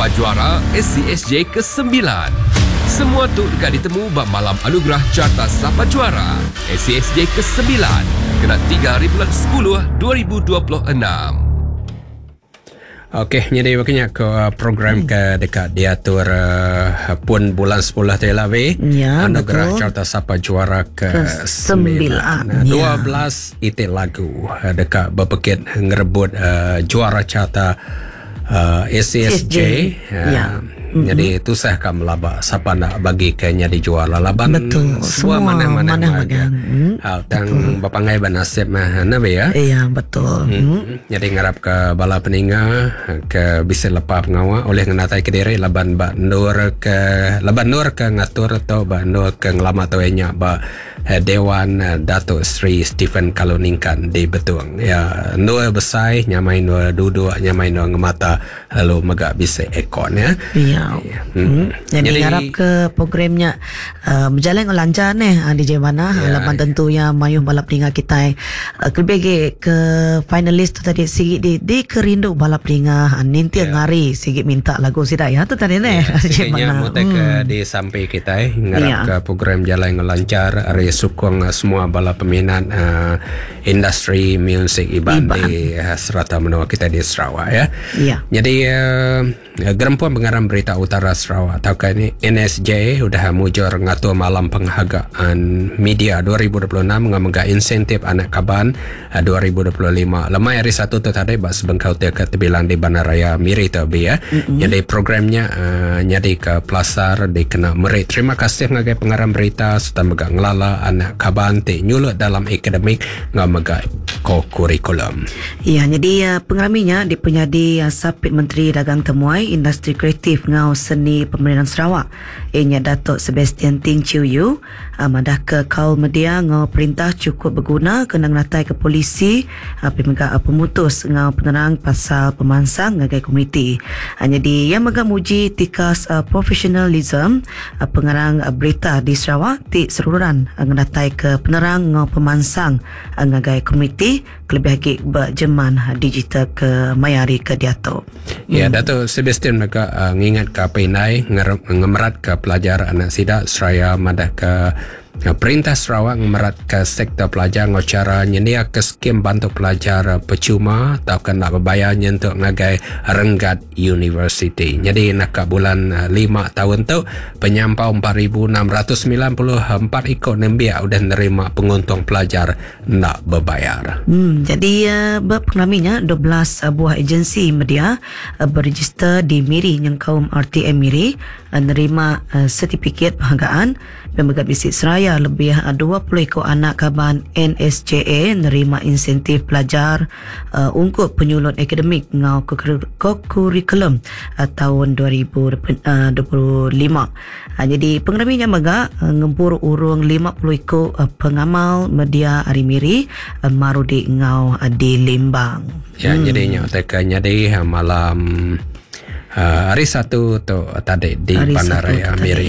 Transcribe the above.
Sapa Juara ACSJ ke-9. Semua tu deka ditemu ba Malam Anugerah Carta Sapa Juara ACSJ ke-9 kena 3 hari bulan 10 2026. Okey, nyadi baka nya ke uh, program ke deka diatur uh, pun bulan 10 tu lah we. Ya, Anugerah betul. Carta Sapa Juara ke ke-9. 9. Ya. 12 iti lagu uh, deka bepekit ngerebut uh, juara carta uh, ACSJ. CSJ. Uh, Ya. Jadi tusah ka melaba sapa nak bagi ke nyadi juara laban Betul. semua Semua manah-manah manah magang. magang. Hmm. Ha, tang bepangai banasib mah na be ya. Ya, betul. Hmm. Jadi ngarap ke bala peninga ke bisa lepa pengawa oleh ngenatai ke diri laban ba nur ke laban nur ke ngatur atau ba nur ke ngelama tu nya ba eh, Dewan eh, Datuk Sri Stephen Kaluningkan di Betung. Ya, nur besai nyamai nur duduk nyamai nur ngemata lalu mega bisa aircon ya. Ya. Ya. Hmm. Jadi, Jadi- ngarap ke programnya uh, berjalan dengan lancar ni uh, DJ Mana Ya, ya, laban tentunya mayuh balap peninga kita uh, kelebih lagi ke finalis tu tadi sigi di di kerindu balap peninga uh, ninti Ya. ngari sigi minta lagu sida ya tu tadi ni Ya, DJ Sekiranya Mana. mutai ke di samping kita eh, ngarap Ya. ke program jalan dengan lancar hari sukong eh, semua bala peminat uh, industri music Iban, Iban. di uh, serata menua kita di Sarawak ya. Ya. Jadi uh, Gerempuan Pengarang Berita Utara Sarawak atau ini NSJ udah mujur ngatur malam penghargaan media 2026 dengan insentif anak kaban uh, 2025. Lemai hari satu tu tadi bak sebengkau tia ke terbilang di Bandaraya Miri tu bi ya. Mm-hmm. Jadi programnya uh, nyadi ke pelasar dikena merit. Terima kasih ngagai pengarang berita serta mega ngelala anak kaban ti nyulut dalam akademik ngau mega ko-kurikulum. Ya, jadi uh, pengeraminya dipenyadi uh, Sapit Menteri Dagang Temuai Industri Kreatif Ngau Seni Pemerintahan Sarawak. Ianya Datuk Sebastian Ting Chiu Yu uh, madah ke kaul media ngau perintah cukup berguna kena ngenatai ke polisi uh, pemega uh, pemutus ngau penerang pasal pemansang ngagai komuniti. Uh, jadi yang mega muji tikas uh, profesionalism uh, pengarang uh, berita di Sarawak ti seruran uh, ngenatai ke penerang ngau pemansang uh, ngagai komuniti kelebih lagi berjeman uh, digital ke mayari ke diatok. Ya, Datuk Sebastian mega uh, ngingat ke Pinai ngemerat ke pelajar anak sida seraya madah ke uh, Perintah Sarawak ngemerat ke sektor pelajar ngau cara nyendia ke skim bantu pelajar uh, percuma atau nak berbayar nyentuk ngagai renggat university. Jadi nak ke bulan 5 tahun tu penyampau 4694 ikut nembiak udah nerima penguntung pelajar nak berbayar. Jadi uh, berpengalaminya 12 uh, buah agensi media uh, berregister di Miri yang kaum RTM Miri uh, nerima uh, sertifikat penghargaan dan mega bisik seraya lebih uh, 20 ekor anak kaban NSJA nerima insentif pelajar uh, ungkup penyulut akademik ngau kokurikulum uh, tahun 2025. Uh, jadi pengeraminya mega uh, ngempur urung 50 ekor uh, pengamal media Ari Miri uh, Marudi ngau uh, di Limbang. Ya, hmm. jadi nyak teka jadi malam uh, hari satu tu tadi di Hari Bandaraya Satu tu Miri.